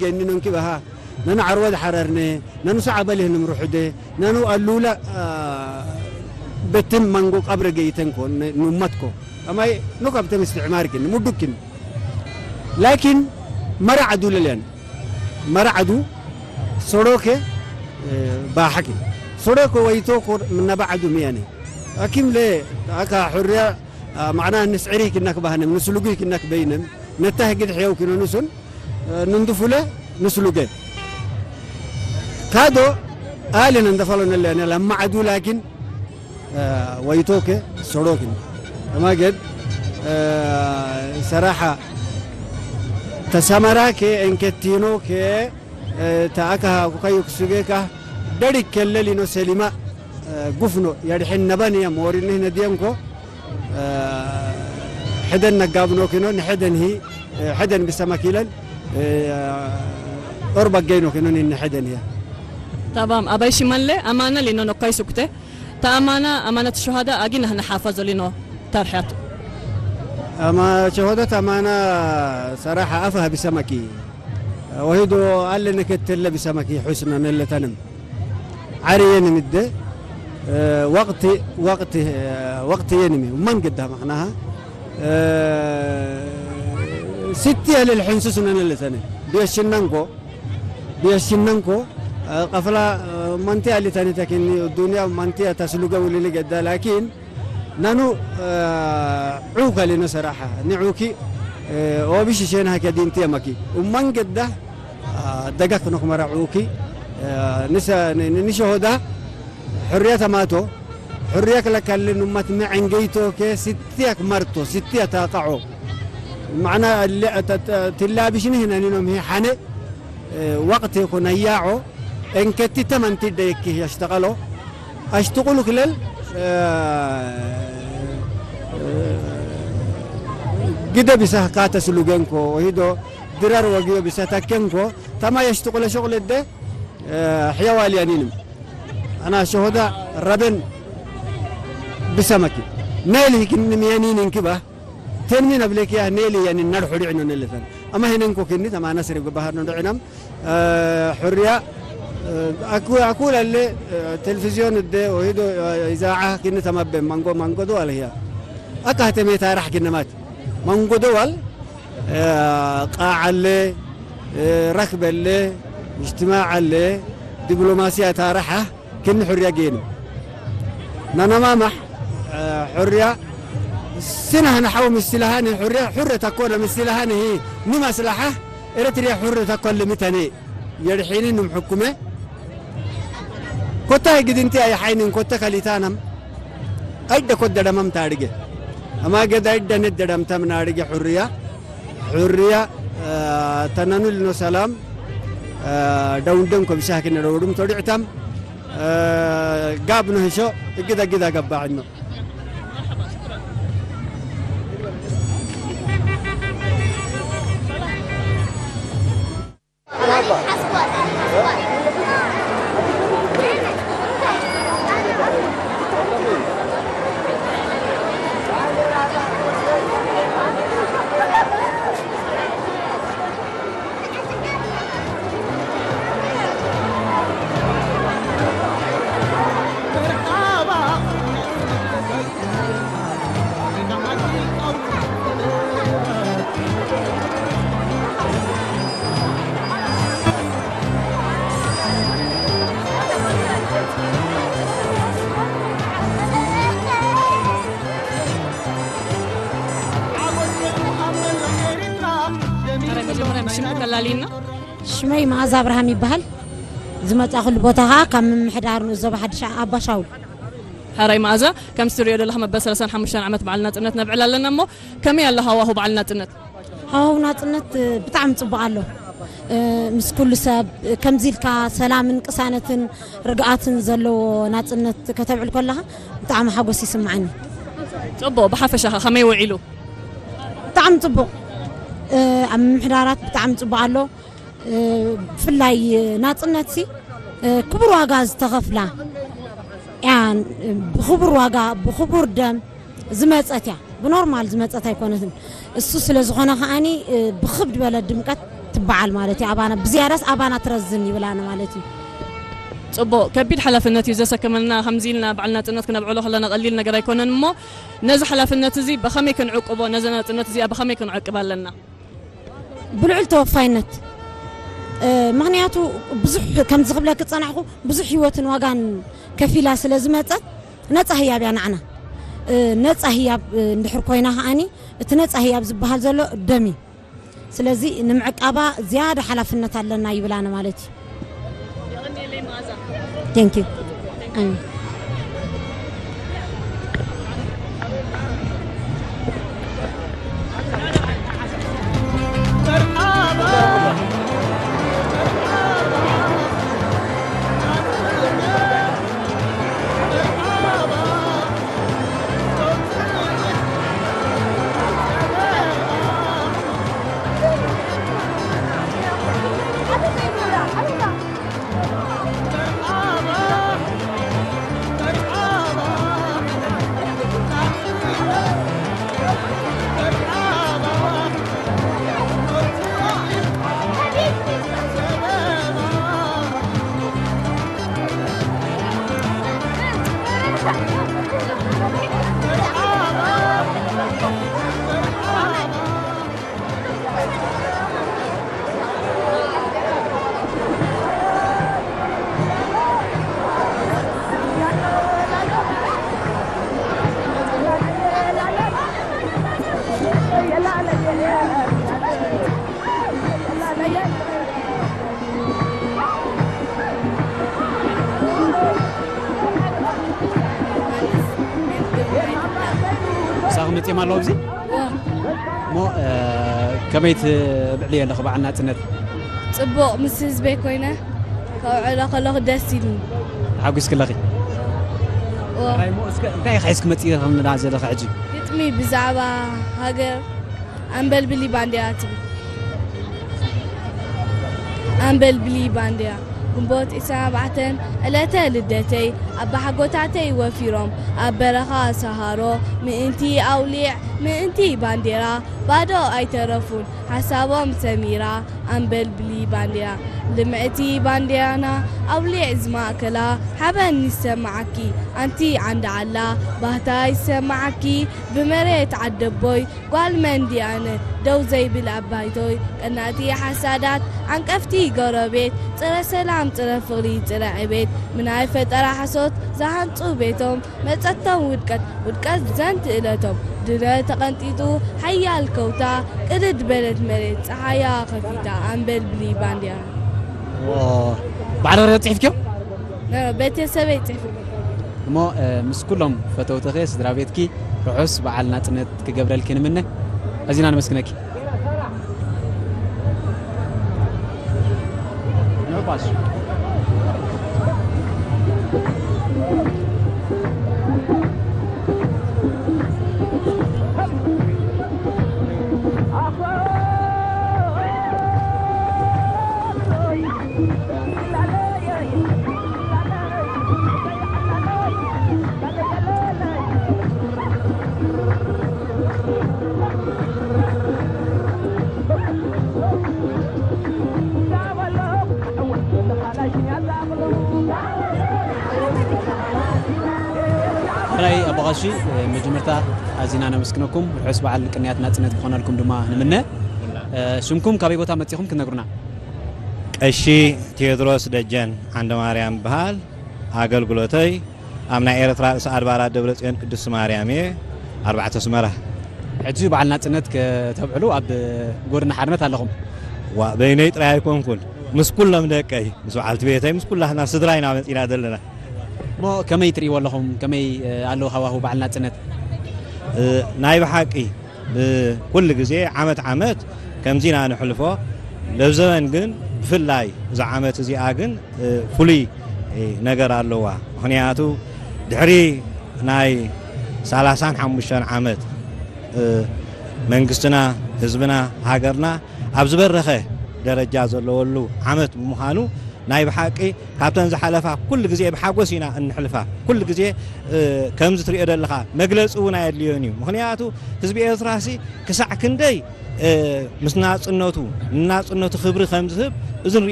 ገኒ ነንኪ በሃ፣ ነኑ ዓርወ ዝሓረርነ፣ ነኑ ሰዓበ ልህንም ርሑደ፣ ነኑ ኣሉላ፣ አ፣ በትን መንጎ ቀብረ ገይተንኮ፣ ነ-፣ ኑመትኮ። ኣማይ ኖ ካብተም እስትዕማር ግን፣ ሙዱክን። ላኪን መራ ዓዱ ለልያን። መራ ዓዱ ሶሮከ፣ እ፣ ባሕኪ። ሶሮከ ወይቶኮ ምናባ ዓዱ ሚያነ። ኣኪም ለ፣ ኣካ ሕርያ፣ አ፣ ማዕና ንስዕሪ ክናክ ባህንም፣ ንስሉጉ ክናክ በይንም፣ ነታ ህግድ ሕየው ክኖ ንሱን፣ ንንድፉለ ንስሉገ። ካዶ ኣልን እንደፈሎ ነለ ያኔ ለማዕዱ ላኪን፣ አ፣ ወይቶከ ሶሮክን። ከማገድ፣ አ፣ ሰራሓ ተሰመራከ እንከቲኖከ፣ አ፣ ተኣካ ኩካዩ ክሱጌካ ደሪክ ከለሊኖ ሰሊማ፣ አ፣ ጉፍኖ የድሕን ነበን እየ ሞሪንህ ነድየንኮ። ሕደን ነጋብኖ ኪኖ ንሕደን ሂ፣ ሕደን ብሰመኪለን፣ ኦር በገይኖ ኪኖ ንሕደን ሂያ። تمام. أباي شمال لي أمانة لينو نكاي سكتة. تا أمانة، أمانة الشهداء أجينا هنا حافظ لينو ترحيات. أما شهداء أمانة صراحة أفها بسمكي. وهيدو قال لنا كتلة بسمكي حسنا اللي تنم. ዓርየን ምደ፣ እ፣ ወቕቲ፣ ወቕቲ፣ እ፣ ወቕቲ የንሚ፣ መን ግዳ መኽናሃ፣ እ፣ ስቲ ያለ ልሕንሱስ ነን ለሰነ፣ ቢየሽነንኮ፣ ቢየሽነንኮ፣ እ፣ ቀፍላ፣ እ፣ መንቲያ ሊታኒ ተኪኒ፣ ዱንያ መንቲያ ተስሉገ ውልሊ ገዳ፣ ላኪን፣ ናኑ፣ እ፣ ዑከ ሊኖ ሰራሓ፣ ንዑኪ፣ እ፣ ኦቢሽ ሸን ሃከ ዲንቲ የመኪ፣ ኡመን ገዳ፣ አ፣ ደጋክ ኖክ መራ ዑኪ፣ አ፣ ንሰ-፣ ን-፣ ን-፣ ንሸሆዳ ሕርያ ተማቶ፣ ሕርያ ክለካልን ኡመት መዐንገይቶ ከ ስትያክ መርቶ፣ ስትያ ታቃዖ። ማዕና ለ-፣ ተ-፣ ተ-፣ ትላቢሽኒ ህነኒኖም ሂ ሓነ፣ እ፣ ወቅት ይኹን ኣያዖ፣ እንከቲ ተመንቲ ደይኪ የሽተቀሎ፣ ኣሽትቁሉ ክለል፣ እ፣ እ፣ ግደ ቢሳህ ካተስሉ ገንኮ፣ ወሂዶ ድራር ወግዮ ቢሳህ ታከንኮ፣ ተማ የሽትቁለ ሸቁለ ደ፣ እ፣ ሕያዋል ያኒንም። ኣና ሸሆዳ ረበን ብሰመኪ። ነል ሂክን ምያኒን እንክባ። ተንሚን ኣብለኪያ ነል ያኒን ነር ሑዲ ዕኖ ነለተን። ኣማ ሄነንኮ ክኒ ተማ ነስሪ ብባህር ነው ድዕናም። እ፣ ሕርያ፣ እ፣ ኣኩ-፣ ኣኩል ኣለ፣ እ፣ ቴሌቪዝዮን እደ ወሂዶ፣ እ፣ ኢዛዓ ክኒ ተማበ ማንጎ ማንጎ ዶ ኣልህያ። ኣካ ህተሜታ ራሕ ክነማት። ማንጎ ዶ ዋል እ፣ ቃዕ ኣለ፣ እ፣ ረክብ ኣለ፣ እጅትማዕ ኣለ፣ ዲፕሎማሲ ኣታረሓ፣ ክኒ ሕርያ ጌኑ። ናናማማሕ፣ እ፣ ሕርያ፣ ስናህ ንሓው ምስልሃኒ፣ ሕርያ፣ ሕረ ተኮነ ምስልሃኒ፣ ሂ፣ ንመስላሓ፣ ኤረትርያ ሕረ ተኮን ልምተኔ። የድሒኒ ንም ሕኩመ። ኮታ ግድንቲ ኣይሓይንን ኮተ ከሊታናም። ኣይደ ኮት ደደመም ታድገ። ኣማ ገዳ ኣይደ ነት ደደምተም ናድገ ሕርያ። ሕርያ፣ አ፣ ተነኑ ልኖ ሰላም፣ አ፣ ደውንደን ኮብሻህ ክነ ደውዱም ተድዕተም፣ አ፣ ጋብ ነህሾ እግዳ ግዳ ገባዕኖ። ሕራይ መጀመርያ ብሽምኪ ከላልይና። ሽመይ መኣዛ ኣብርሃም ይበሃል። ዝመጻኹሉ ቦታ ኸኣ ካብ ምምሕዳር ንኡስ ዞባ ሓድሽ ኣባሻውል። ሕራይ መኣዛ፣ ከምቲ ትሪኦ ዘለኻ መበል ሰላሳን ሓሙሽተን ዓመት በዓል ናጽነት ነብዕል ኣለና እሞ፣ ከመይ ኣሎ ሃዋሁ በዓል ናጽነት? ሃዋሁ ናጽነት፣ እ፣ ብጣዕሚ ጽቡቕ ኣሎ። እ፣ ምስ ኩሉ ሰብ፣ እ፣ ከምዚ ኢልካ ሰላምን ቅሳነትን ርግኣትን ዘለዎ ናጽነት ከተብዕል ከለኻ ብጣዕሚ ሓጎስ ይስምዓኒ። ጽቡቕ፣ ብሓፈሻ ኸ ከመይ ውዒሉ? ብጣዕሚ ጽቡቕ። እ፣ ኣብ ምምሕዳራት ብጣዕሚ ጽቡቕ ኣሎ። እ፣ ብፍላይ ናጽነትሲ፣ እ፣ ክቡር ዋጋ ዝተኸፍላ እያ። ብኽቡር ዋጋ፣ ብኽቡር ደም ዝመጸት እያ። ብኖርማል ዝመጸት ኣይኮነትን። እሱ ስለ ዝኾነ ከኣኒ፣ እ፣ ብኽብ ዝበለ ድምቀት በዓል ማለት እዩ። ኣባና ብዝያዳስ ኣባና ትረዝን ይብላና ማለት እዩ። ጽቡቕ፣ ከቢድ ሓላፍነት እዩ ዘሰከመና። ከምዚ ኢልና በዓል ናጽነት ክነብዕሎ ከለና ቀሊል ነገር ኣይኮነን እሞ፣ ነዚ ሓላፍነት እዚ ብኸመይ ክንዕቅቦ፣ ነዚ ናጽነት እዚኣ ብኸመይ ክንዕቅብ ኣለና? ብልዑል ተወፋይነት፣ እ፣ ምኽንያቱ ብዙሕ፣ ከምዚ ክብለኪ ዝጸናሕኩ፣ ብዙሕ ህይወትን ዋጋን ከፊላ ስለ ዝመጸት፣ ነጻ ህያብ እያ ንዓና። እ፣ ነጻ ህያብ፣ እ፣ እንድሕር ኮይና ከኣኒ፣ እቲ ነጻ ህያብ ዝበሃል ዘሎ ደም እዩ። ስለዚ ንምዕቃባ ዝያዳ ሓላፍነት ኣለና ይብል ኣነ ማለት እዩ። Thank you። ኣሜን። ምሳኺ መጺኦም ኣለዉ ኣብዚ? እሞ፣ እ፣ ከመይ ትብዕልዮ ኣለኺ በዓል ናጽነት? ጽቡቕ፣ ምስ ህዝበይ ኮይነ ከብዕሎ ከለኹ ደስ ኢሉኒ። ተሓጒስኪ ኣለኺ? እዎ። ሕራይ እሞ፣ እስከ እንታይ ኢኺ ሒዝኪ መጺእኽና ዘለኺ ሕጂ? ግጥሚ ብዛዕባ ሃገር ኣምበልብሊ ባንዴራ ትብል። ኣምበልብሊ ባንዴራ። ግንቦት ዕስራን ኣርባዕተን ዕለተ ልደተይ ኣባሓጎታተይ ወፊሮም ኣብ በረኻ ሰሃሮ ምእንቲ ኣውሊዕ ምእንቲ ባንዴራ ባዶ ኣይተረፉን ሓሳቦም ሰሚራ ኣምበልብሊ ባንዴራ ልምዕቲ ባንዴራና ኣውሊዕ ዝማእከላ ሓበን ይሰማዓኪ ኣንቲ ዓንዲ ዓላ ባህታ ይሰማዓኪ ብመሬት ዓደቦይ ጓል መን ድያነ ደው ዘይብል ኣባይቶይ ቀናእቲ ሓሳዳት ዓንቀፍቲ ጎረቤት ጽረ ሰላም ጽረ ፍቕሪ ጽረ ዕቤት ምናይ ፈጠራ ሓሶት ዝሃንጹ ቤቶም መጸቶም ውድቀት ውድቀት ዘንት እለቶም ድነ ተቐንጢጡ ሓያል ከውታ ቅድድ በለት መሬት ጸሓያ ከፊታ ኣንበልብሊ ባንዲራ። ኦ፣ ባዕልኺ ጽሒፍክዮ? ነ-፣ ቤተሰበይ ጽሒፉ። እሞ፣ እ፣ ምስ ኩሎም ፈተውትኺ፣ ስድራ ቤትኪ ርሑስ በዓል ናጽነት ክገብረልኪ ንምነ። ኣዚና ነመስግነኪ። ሕራይ ኣቦ ቀሺ፣ መጀመርታ ኣዚና ነመስግነኩም። ርሑስ በዓል ቅንያት ናጽነት ክኾነልኩም ድማ ንምነ። ሽምኩም ካበይ ቦታ መጺኹም ክትነግሩና? ቀሺ ቴዎድሮስ ደጀን ዓንደ ማርያም ይበሃል። ኣገልግሎተይ ኣብ ናይ ኤርትራ ርእሰ ኣድባራት ደብረ ጽዮን ቅድስት ማርያም እየ፣ ኣርባዕተ ኣስመራ። ሕጂ በዓል ናጽነት ከተብዕሉ ኣብ ጎድኒ ሓርነት ኣለኹም። ዋ፣ በይነይ ጥራይ ኣይኮንኩን፣ ምስ ኩሎም ደቀይ፣ ምስ በዓልቲ ቤተይ፣ ምስ ኩላትና ስድራ ኢና መጺና ዘለና። እሞ ከመይ ትርእይዎ ኣለኹም? ከመይ፣ እ፣ ኣሎ ሃዋሁ በዓል ናጽነት? እ፣ ናይ ብሓቂ ብኩሉ ግዜ ዓመት ዓመት ከምዚ ኢና ንሕልፎ። ለብ ዘበን ግን ብፍላይ እዛ ዓመት እዚኣ ግን፣ እ፣ ፍሉይ፣ እ፣ ነገር ኣለዋ። ምኽንያቱ ድሕሪ ናይ ሰላሳን ሓሙሽተን ዓመት፣ እ፣ መንግስትና፣ ህዝብና፣ ሃገርና ኣብ ዝበረኸ ደረጃ ዘለወሉ ዓመት ብምዃኑ ናይ ብሓቂ ካብተን ዝሓለፋ ኩሉ ግዜ ብሓጎስ ኢና እንሕልፋ። ኩሉ ግዜ ከምዚ ትሪኦ ዘለኻ መግለፂ እውን ኣየድልዮን እዩ። ምኽንያቱ ህዝቢ ኤርትራሲ ክሳዕ ክንደይ ምስ ናፅነቱ ንናፅነቱ ክብሪ ከም ዝህብ እዚ ንሪኦ